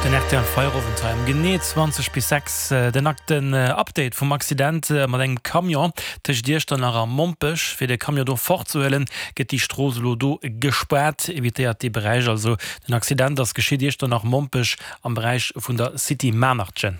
Den rtl Feierowend hei um genee 20 bis 6. Den akten Update vum Accident mat engem Camion tëscht Iechternach a Mompech. Fir de Camion do fortzehuelen, gëtt déi Strooss elo do gespaart. Evitéiert dee Beräich also. Den Accident ass geschitt Iechternach, Mompech am Beräich vun der City Manertchen.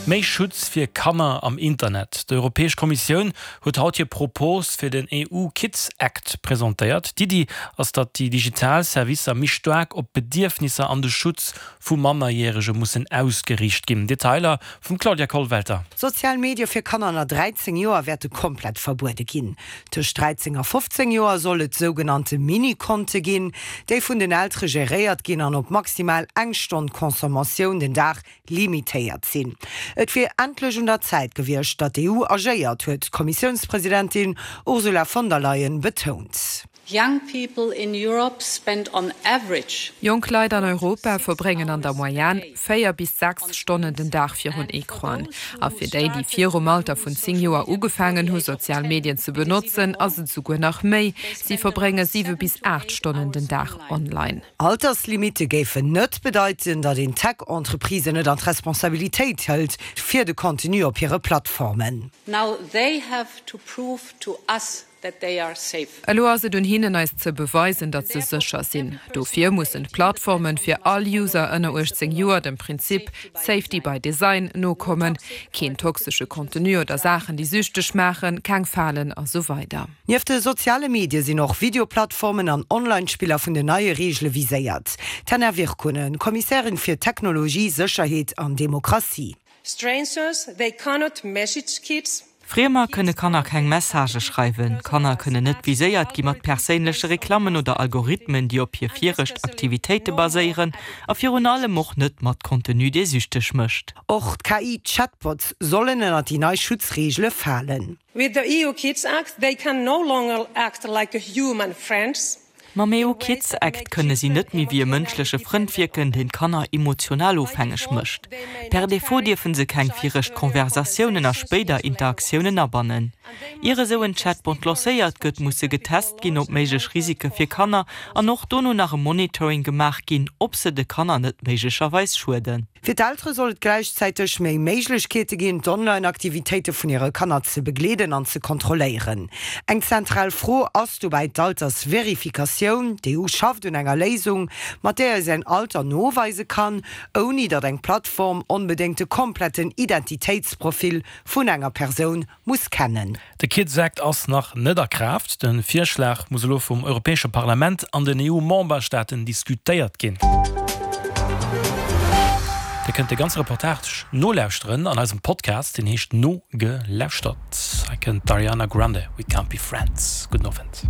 Méi Schutz fir Kanner am Internet, D'Europäesch Kommissioun huet haut hir Propos fir den EU Kids Act presentéiert. D'Iddi ass, datt déi digital Servicer méi staark op d'Bedierfnisser an de Schutz vu Mannerjärege mussen ausgeriicht ginn. Detailer vum Claudia Kollwelter. Sozial Medie fir Kanner ënner 13 Joer wäerte komplett verbuede ginn. Tëscht 13 a 15 Joer soll et sougenannte Mini-Konte ginn, déi vun den Eltere geréiert ginn an op maximal eng Stonn Consommatioun den Dag limitéiert sinn. Et wier endlech un der Zäit gewiescht, datt d'EU agéiert, huet d'Kommissiounspresidentin Ursula von der Leyen betount. Young people in Europe spend on average. Jonk Leit an Europa verbréngen an der Moyenne 4 bis 6 Stonnen den Dag virun Ecranen. A fir déi, déi virum Alter vun 10 Joer ugefaangen hu sozial Medien ze benotzen, ass et esouguer nach méi, Si verbrénge 7 bis 8 Stonnen den Dag online. Alterslimitte géifen net bedeiten, datt een Tech-Entreprisen net an d'Responsabilitéit hëlt fir de Contenu op hire Plattformen. Now they have to prove to us that they are safe. Elo ass et un hinnen, eis ze beweisen, datt se sécher sinn. Dofir mussen d'Plattformen fir all User ënner 18 Joer dem Prinzip Safety by Design nokommen, keen toxesche Contenu oder Saachen, déi süchteg maachen, keng Falen a sou weider. Nieft de soziale Medie sinn och Videoplattformen an Online-Spiller vun den neie Reegele viséiert. D'Henna Virkkunen, Kommissärin fir Technologie, Sécherheet an Demokratie. Strangers, they cannot message kids. Friemer kënne Kanner keng Messagë schreiwen. Kanner kënnen net viséiert gi mat perséinleche Reklammen oder Algorithmen, déi op hir viregt Aktivitéite baséieren, a virun allem och net mat Contenu, dee süchteg mécht. Och d'KI-Chatbots sollen ënner déi nei Schutzreegele falen. With the EU Kids Act, they can no longer act like a human friends. Mam EU Kids Act kënne si net méi wéi e mënschleche Frënd wierken, deen d'Kanner emotional ofhängeg mécht. Per Defaut dierfe se keng viregt Konversatiounen a spéider Interaktiounen abannen. Ier esou en Chatbot lancéiert gëtt, muss e getest ginn op méiglech Risike fir Kanner an och dono nach e Monitoring gemaach ginn, ob se de Kanner net méiglecherweis schueden. Fir d'Eltere soll et gläichzäiteg méi Méiglechkeete ginn, d'Online-Aktivitéite vun hire Kanner ze begleeden an ze kontrolléieren. Eng zentral Fro ass dobäi d'Altersverifikatioun. D'EU schafft un enger Léisung, mat där ee säin Alter noweise kann, ouni datt eng Plattform onbedéngt de kompletten Identitéitsprofil vun enger Persoun muss kennen. De Kids Act ass nach net a Kraaft. De Virschlag muss elo vum Europäesche Parlament an den EU-Memberstaaten diskutéiert ginn. Dir kënnt de ganze Reportage nolauschteren an eisem Podcast, deen heescht Nogelauschtert. Hei kënnt d'Ariana Grande, We Can't Be Friends. Gudden Owend.